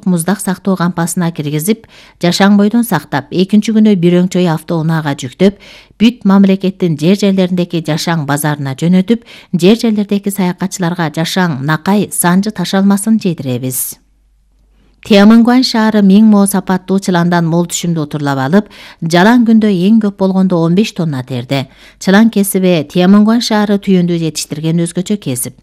муздак сактоо кампасына киргизип, жашаң бойдон сактап, экинчи күнү бир өңчөй автоунаага жүктөп, бүт мамлекеттин жер-жерлериндеги жашаң базарына жөнөтүп, жер-жерлердеги саякатчыларга жашаң, накай, санжы ташалмасын жейдиребиз. Тиамангуан шаары 1000 мо сапаттуу чыландан мол түшүмдү утурлап алып, жалаң күндө эң көп болгондо 15 тонна терди. Чылан кесиби Тиамангуан шаары түйүндү жетиштирген өзгөчө кесип.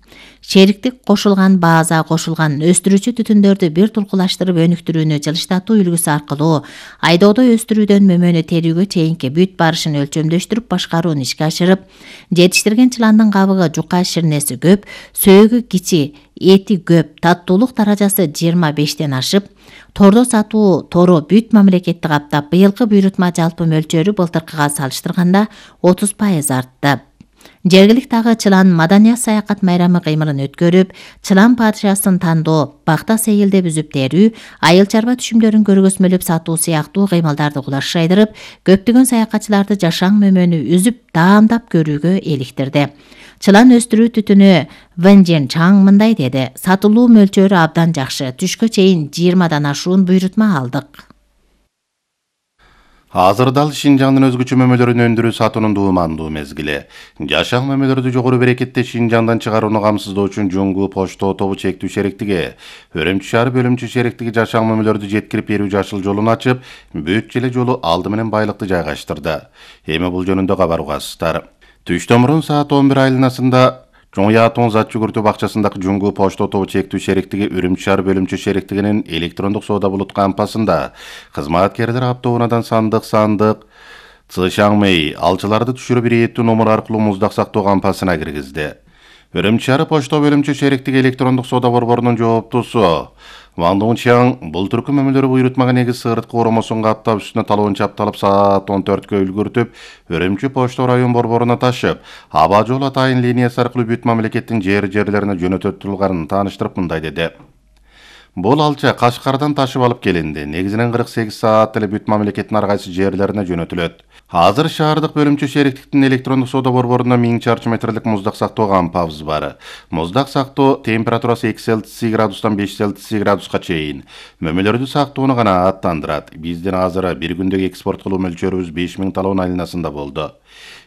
Шериктик кошулган бааза кошулган өстүрүүчү түтүндөрдү бир тулкулаштырып өнүктүрүүнү жылыштатуу үлгүсү аркылуу айдоодо өстүрүүдөн мөмөнү терүүгө чейинки бүт барышын өлчөмдөштүрүп башкарууну ишке ашырып, жетиштирген чыландын кабыгы жука ширнеси көп, сөөгү кичи, эти көп, таттуулук даражасы 25тен ашып, тордо сатуу тору бүт мамлекетти каптап, быйылкы буйрутма жалпы мөлчөрү былтыркыга салыштырганда 30% артты. Жергиликтагы чылан маданият саякат майрамы кыймылын өткөрүп, чылан падышасын тандоо, бакта сейилдеп үзүп терүү, айыл чарба түшүмдөрүн көргөзмөлөп сатуу сыяктуу кыймылдарды кулаш жайдырып, көптөгөн саякатчыларды жашаң мөмөнү үзүп, даамдап көрүүгө эликтирди. Чылан өстүрүү түтүнү Вэнжен Чаң мындай деди: сатылуу мөлчөрү абдан жакшы, түшкө чейин 20дан ашуун буйрутма алдык. Азырда Шинжаңдын өзгөчө мөмөлөрүн өндүрүү сатуунун дуумандуу мезгили. Жашаң мөмөлөрдү жогору берекетте Шинжаңдан чыгарууну камсыздоо үчүн Жуңгу почто тобу чектүү шериктиги, Өрөмчү шаары бөлүмчө шериктиги жашаң мөмөлөрдү жеткирип берүү жашыл жолун ачып, бүт желе жолу алды менен байлыкты жайгаштырды. Эми бул жөнүндө кабар угасыздар. Түштөн мурун саат 11 айланасында Жоңятон зат жүгүртүү бакчасындагы Жуңгу почто тобу чектүү шериктиги Өрөмчү шаар бөлүмчө шериктигинин электрондук соода булут кампасында кызматкерлер автоунаадан сандык Цышаңмэй алчыларды түшүрүп ирээттүү номер аркылуу муздак сактоо кампасына киргизди. Өрөмчү шаары почто бөлүмчө шериктиги электрондук соода борборунун жооптусу Ван Дунчаң бул түркү мөмөлөрү буйрутмага негиз сыгыртка оромосун каптап үстүнө талоон чапталып саат 14кө үлгүртүп, Өрөмчү почто район борборуна ташып, аба жол атайын линиясы аркылуу бүт мамлекеттин жерлерине жөнөтүлгөнүн тааныштырып мындай деди. Бул алча Кашкардан ташып алып келинди. Негизинен 48 саат эле бүт мамлекеттин ар кайсы жерлерине жөнөтүлөт. Азыр шаардык бөлүмчө шериктиктин электрондук соода борборунда 1000 чарчы метрлик муздак сактоо кампабыз бар. Муздак сактоо температурасы 2 Цельсий градустан 5 Цельсий градуска чейин. Мөмөлөрдү сактоону гана аттандырат. Биздин азыр бир күндөгү экспорт кылуу мөлчөрүбүз 5000 талоон айланасында болду.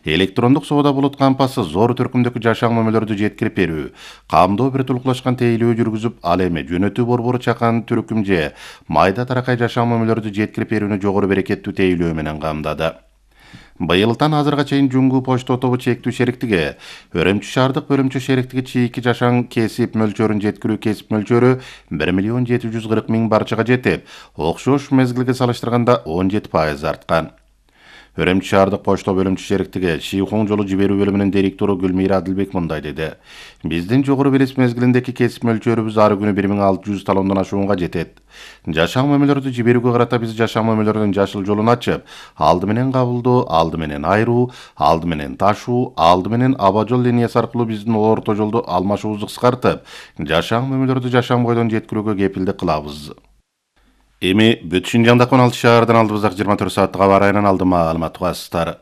Электрондук соода булут кампасы зор түркүмдөгү жашаң мөмөлөрдү жеткирип берүү, камдоо бир тулкулашкан тейлөө жүргүзүп, ал эми жөнөтүү борбору чакан түркүм же майда таракай жашаң мөмөлөрдү жеткирип берүүнү жогору берекеттүү тейлөө менен камдады. Быйылдан азырга чейин Жуңгу почто тобу чектүү шериктиги, Өрөмчү шаардык бөлүмчө шериктиги чийки жашаң кесип мөлчөрүн жеткирүү кесип мөлчөрү 1 740 000 барчага жетип, окшош мезгилге салыштырганда 17% арткан. Өрөмчү шаардык почто бөлүмчө шериктиги Шийхоң жолу жиберүү бөлүмүнүн директору Гүлмира Адилбек мындай деди. Биздин жогору белес мезгилиндеги кесип мөлчөрүбүз ары күнү 1600 талондон ашуунга жетет. Жашаң мөмөлөрдү жиберүүгө карата биз жашаң мөмөлөрдүн жашыл жолун ачып, алды менен кабылдоо, алды менен айруу, алды менен ташуу, алды менен аба жол линиясы аркылуу биздин орто жолду алмашуубузду кыскартып, жашаң мөмөлөрдү жашаң бойдон жеткирүүгө кепилдик кылабыз. Эми бүт Шинжаңдагы 16 шаардан алдыбыздагы 24 сааттык аба ырайынан алдын маалымат угасыздар.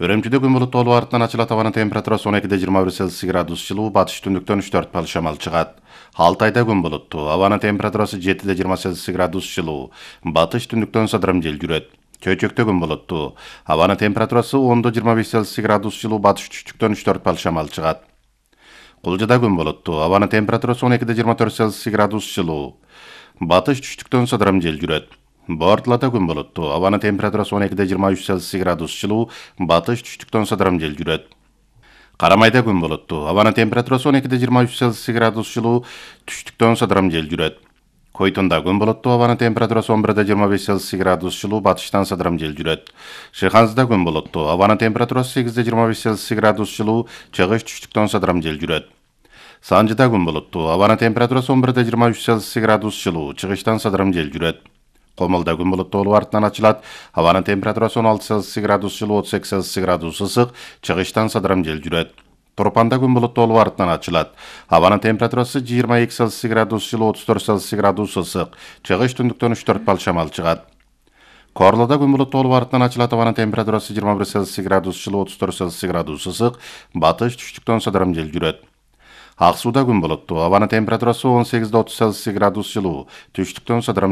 Өрөмчүдө күн булуттуу артынан ачылат, абанын температурасы 12-21 Цельсий градус жылуу, батыш түндүктөн 3-4 шамал чыгат. Алтайда күн булуттуу, абанын температурасы 7-20 Цельсий градус жылуу, батыш түндүктөн сыдырым жел жүрөт. Чөйчөктө күн булуттуу, абанын температурасы 10-25 Цельсий градус жылуу, батыш түштүктөн 3-4 шамал чыгат. Кулжада күн булуттуу, абанын температурасы 12-24 Цельсий градус жылуу, батыш түштүктөн сыдырым жел жүрөт. Бортлата күн булуттуу, абанын температурасы 12-23 Цельсий градус жылуу, батыш түштүктөн сыдырым жел жүрөт. Карамайда күн булуттуу, абанын температурасы 12-23 Цельсий градус жылуу, түштүктөн сыдырым жел жүрөт. Койтунда күн булуттуу, абанын температурасы 11-25 Цельсий градус жылуу, батыштан сыдырым жел жүрөт. Шыханзда күн булуттуу, абанын температурасы 8-25 Цельсий градус жылуу, чыгыш түштүктөн сыдырым жел жүрөт. Санжыда күн булуттуу, абанын температурасы 11-23 Цельсий градус жылуу, чыгыштан сыдырым жел жүрөт. Комолдо күн булуттуу артынан ачылат, абанын температурасы 16 Цельсий градус жылуу, 32 Цельсий градус ысык, чыгыштан сыдырым жел жүрөт. Торпанда күн булуттуу артынан ачылат, абанын температурасы 22 Цельсий градус жылуу, 34 Цельсий градус ысык, чыгыш түндүктөн 3-4 шамал чыгат. Корлоодо күн булуттуу артынан ачылат, абанын температурасы 21 Цельсий градус жылуу, 34 Цельсий градус ысык, батыш түштүктөн сыдырым жел жүрөт. Ак сууда күн булуттуу, абанын температурасы 18-30 Цельсий градус жылуу, түштүктөн сыдырым